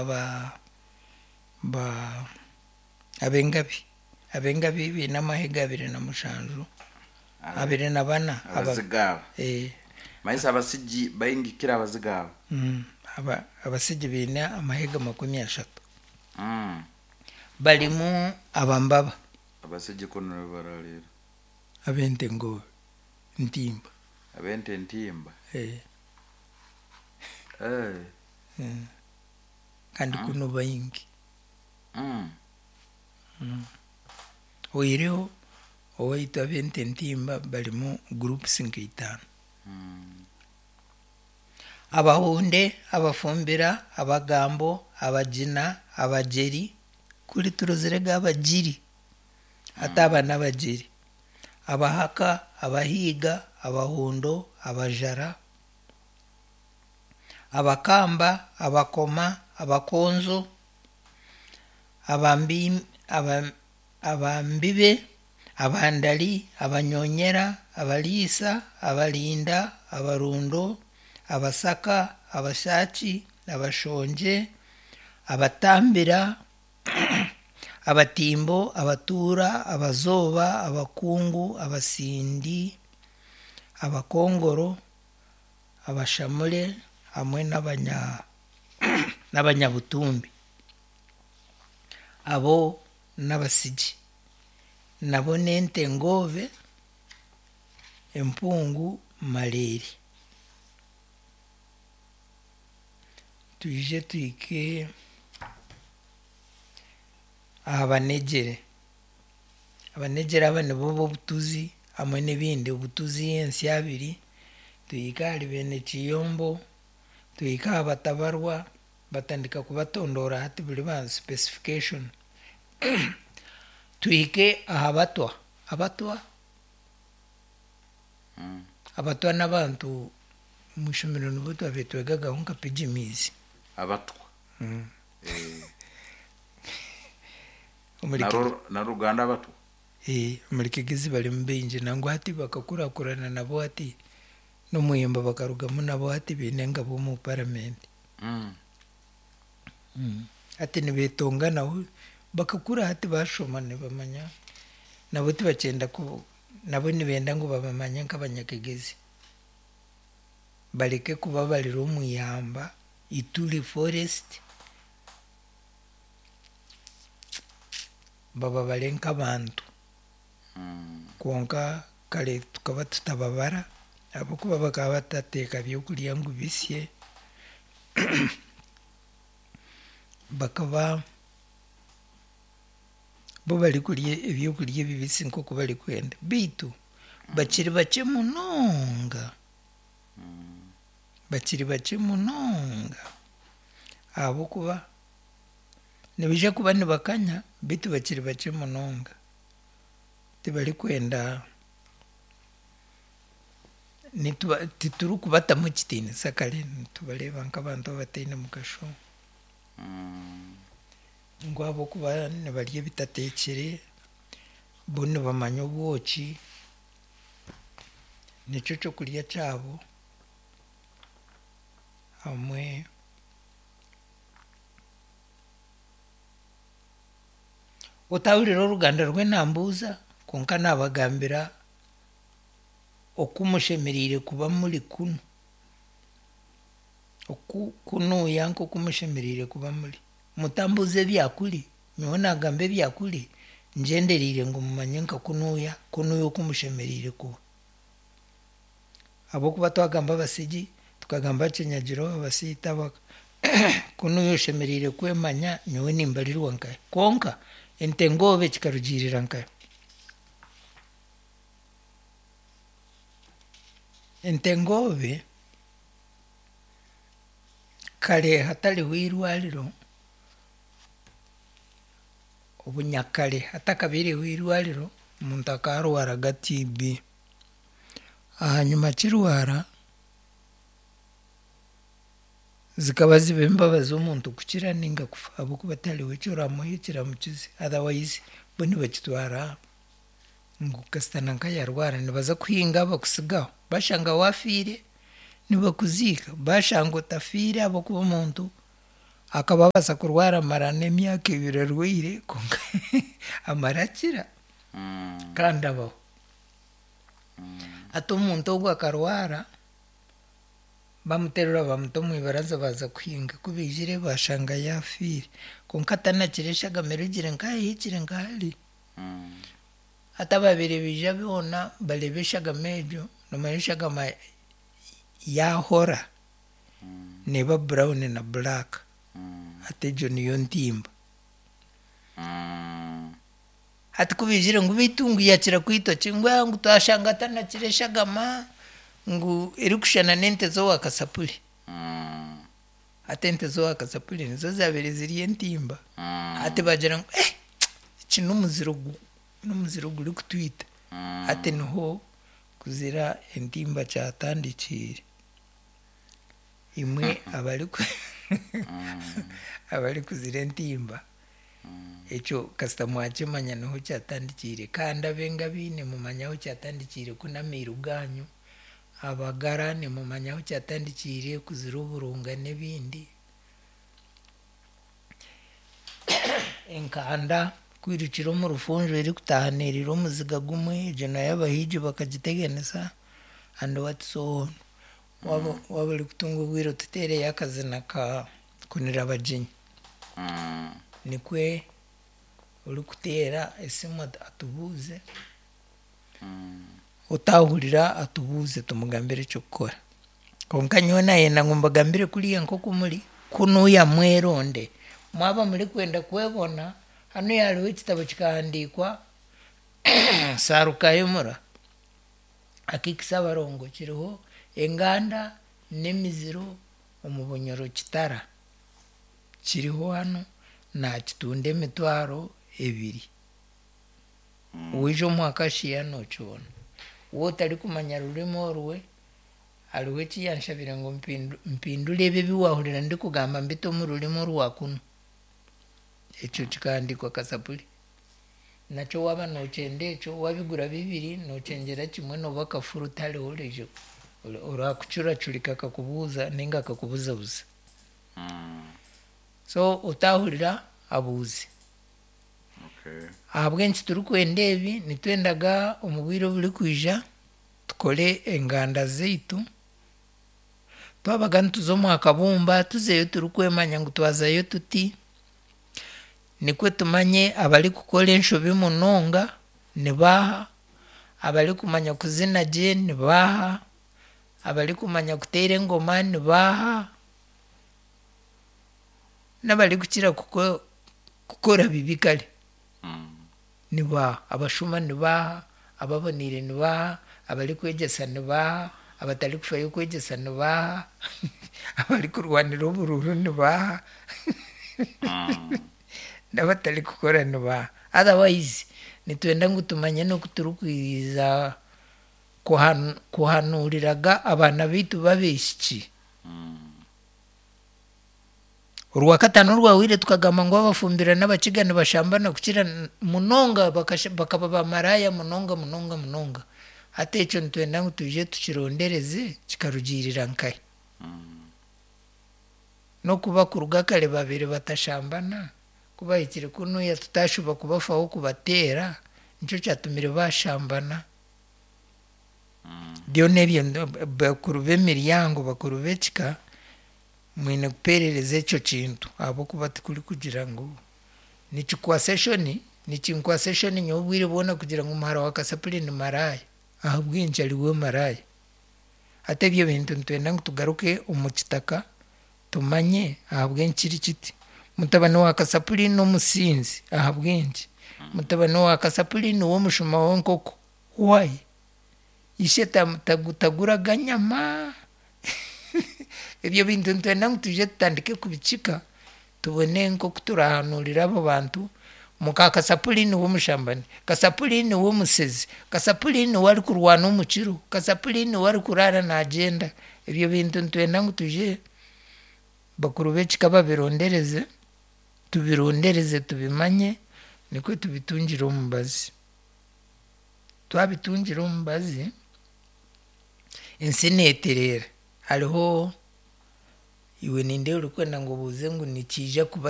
Aba ba ab'engabi ab'engabi baine amahega 27 24 aba Abaziga aba. eh, Manyisa abasigi baingi kukira abaziga aba. aba abasigi baine amahega 30. Barimu abambaba. Abasigi kunu nibararira. Ab'ente ngo ntimba. Ab'ente ntimba. Eh. Eh. Kandi kunu baingi. Oihireho owaitu ab'ente ntimba barimu groups nka itaano. Abahunde, abafumbira, abagambo, abagina, abagyeri, kuri turozire ga abagiri hati aba n'abagyeri, abahaka, abahiiga, abahundo, abajara, abakamba, abakoma, abakonzo, abambi, aba, abambibe, abandari, abanyonyera, abariisa, abarinda, abarundo, abasaka, abashaki, abashongye, abatambira, abatimbo, abatuura, abazooba, abakungu, abasindi, abakongoro, abashamure hamwe n'abanya n'abanyabutumbi. Abo n'abasigi. Nabo n'ente ngoobe, empungu, mareere. Twije tuhike aha banegyere. Abanegyere aba nibo b'obutuzi hamwe n'ebindi, obutuzi, ensyabiri, tuhike ahari beene kiyombo, tuhike aha batabarwa, batandika kubatondoora hati buri ba specification. Tuhike aha batwa. Abatwa abatwa n'abantu omu ishomero nibo twabaire twegagaho nka pygmies. Abatwa. Omuri Naro naruganda abatwa. Eh, omuri Kigezi barimu baingi nangwa hati bakakurakurana nabo hati n'omuyemba bakarugamu nabo hati baine engabo omu paramenti. Hati nibeetonga nabo bakakura hati bashoma nibamanya nabo tibakyenda ku nabo nibenda ngu babamanye nk'abanyakigezi. Bareke kubabarira omu ihamba Ituri forest bababare nk'abantu. Kwonka kare tukaba tutababara ahabw'okuba bakaba batateeka byokurya ngu bisye bakaba bo barikurya ebyokurya ebibisi nk'oku barikwenda beitu bakiri bakye munonga bakiri bakye munonga ahabw'okuba nibaija kuba nibakanya beitu bakiri bakye munonga tibarikwenda nituba titurikubatamu ekitiinisa kare nitubareeba nk'abantu abataine mugasho ngu ahabw'okuba nibarya ebitateekire bo nibamanya obwoki nikyo kyokurya kyabo hamwe otahurira oruganda rw'enambuuza kwonka naabagambira oku mushemereire kuba muri kunu. Oku kunuuya nk'oku mushemereire kuba muri. Mutambuuza ebyakuri, nyowe naagamba ebyakuri ngyendereire ngu mumanye nka kunuuya, kunuuya oku mushemereire kuba. Ahabw'okuba twagamba abasigi, tukagamba Kinyagiro, Abasiita, kunuuya oshemereire kwemanya nyowe nimbarirwa nkahi. Kwonka ente ngoobe kikarugiirira nkahi? Ente ngoobe kare hatariho eirwariro, obunyakare hatakabaireho eirwariro, omuntu akaarwaraga TB. Ahanyima akirwara, zikaba ziba embabazi omuntu kukira ninga kufa ahabw'okuba tihariho eki oramuhe ekiramukize otherwise bo nibakitwara ngu kasita nanka yaarwara nibaza kuhinga bakusigaho bashanga waafiire nibakuziika bashanga otafiire ahabw'okuba omuntu. Akaba abaasa kurwara amara n'emyaka ebiri arwaire kwonka amara akira kandi abaho. Hati omuntu ogwo akarwara, bamuterura bamuta omu ibaraza baaza kuhinga. Ku baijire baashanga yaafiire. Kwonka atanakire eshagama erugire nkaha ehikire nka hari. Hati abaabaire baija boona bareeba eshagama egyo, noomanya eshagama yaahora neeba brown na black. Hati egyo niyo ntimba. Hati ku baijire ngu beitu ngu yakira kwitwa ki? Ngu aa ngu twashanga atanakire eshagama ngu erikushushana n'ente z'owa kasapuri. Hati ente z'owa kasapuri nizo zaabaire ziri entimba. Hati bagira ngu eh eki n'omuziro n'omuziro gurikutwita. Hati niho kuzira entimba kyatandikiire. Imwe abariku abarikuzira entimba, ekyo kasita mwakimanya niho kyatandikiire. Kandi ab'engabi nimumanya ahu kyatandikiire ku n'amairu gaanyu. Abagara nimumanya ahu kyatandikiire kuzira oburunga n'ebindi. Enkanda kwirukira omu rufunjo erikutaaha neeriira omuziga gumwe, egyo nayo abahiigi bakagiteganisa and what so on. Waaba waaba orikutunga obwire otuteereyo akazina ka Kunira Abagyenyi. Nikwe orikuteera esimu atubuuze, otaahurira atubuuze tumugambire eky'okukora. Kwonka nyowe naayenda ngu mbagambire kuriya nk'oku muri, kunuuya mweronde. Mwaba murikwenda kwebona, hanuya hariho ekitabo kikahandiikwa Sarukahemura Akikisa Abarongo kiriho enganda n'emiziro omu Bunyoro Kitara. Kiriho hanu naakitunda emitwaro ebiri. Waija omu Acacia nookibona. Waaba otarikumanya rurimi orwe, hariho eki yanshabire ngu mpindure ebi ebi waahurira ndikugamba mbite omu rurimi orwa kunu. Ekyo kikahandiikwa Kasapuri. Nakyo waaba nookyenda ekyo, waabigura bibiri, nookyengyera kimwe nooba kafuru tihariho oraije oraakucuracurika akakubuuza nainga akakubuzabuza. So otaahurira abuuze. Ahabw'enki turikwenda ebi? Nitwendaga omu bwire oburikwija tukore enganda zaitu. Twabaga nituza omu kabumba tuzeyo turikwemanya ngu twazayo tuti, nikwo tumanye abarikukora enshobi munonga nibaaha, abarikumanya kuzina gye nibaaha, abarikumanya kuteera engoma nibaaha, n'abarikukira kukora bibi kare nibaaha, abashuma nibaaha, ababoneire nibaaha, abarikwegyesa nibaaha, abatarikufayo kwegyesa nibaaha, abarikurwanira oburuuru nibaaha, n'abatarikukora nibaaha. Otherwise nitwenda ngu tumanye n'oku turikwija kuhanuuriraga abaana baitu b'abaishiki. Orwakataano orwahweire tukagamba ngu abafumbira n'abakiga nibashambana kukira munonga bakaba bamaraaya munonga munonga munonga. Hati ekyo nitwenda ngu twije tukirondereze kikarugiirira nkahi. N'okuba kuruga kare babaire batashambana, ku bahikire kunuya tutaashuba kubafaho kubateera, nikyo kyatumire baashambana. Byona ebyo bakuru b'emiryango, bakuru b'ekika, mwine kupeerereza ekyo kintu ahabw'okuba tikurikugira ngu nikikwasa eshoni, nikinkwasa eshoni nyowe obwire bwona kugira ngu muhara wa Kasapuri ni maraaya. Ahabw'enki ari we maraaya? Hati ebyo bintu nitwenda ngu tugaruke omu kitaka tumanye ahabw'enki kiri kiti. Mutabani wa Kasapuri n'omusinzi ahabw'enki? Mutabani wa Kasapuri niwe omushuma w'enkoko why? Ishe taguraga nyama? Ebyo bintu nitwenda ngu twije tutandike kubikika tubone nk'oku turahanuurira abo bantu. Muka Kasapuri niwe omushambani, Kasapuri niwe omusezi, Kasapuri niwe arikurwana omu kiro, Kasapuri niwe arikuraara naagyenda. Ebyo bintu nitwenda ngu twije bakuru b'ekika babirondereze, tubirondereze tubimanye nikwo tubitungire omubazi. Twabitungira omubazi, ensi neetereera. Hariho Iwe nindeeba orikwenda ngu obuuze ngu nikiija kuba.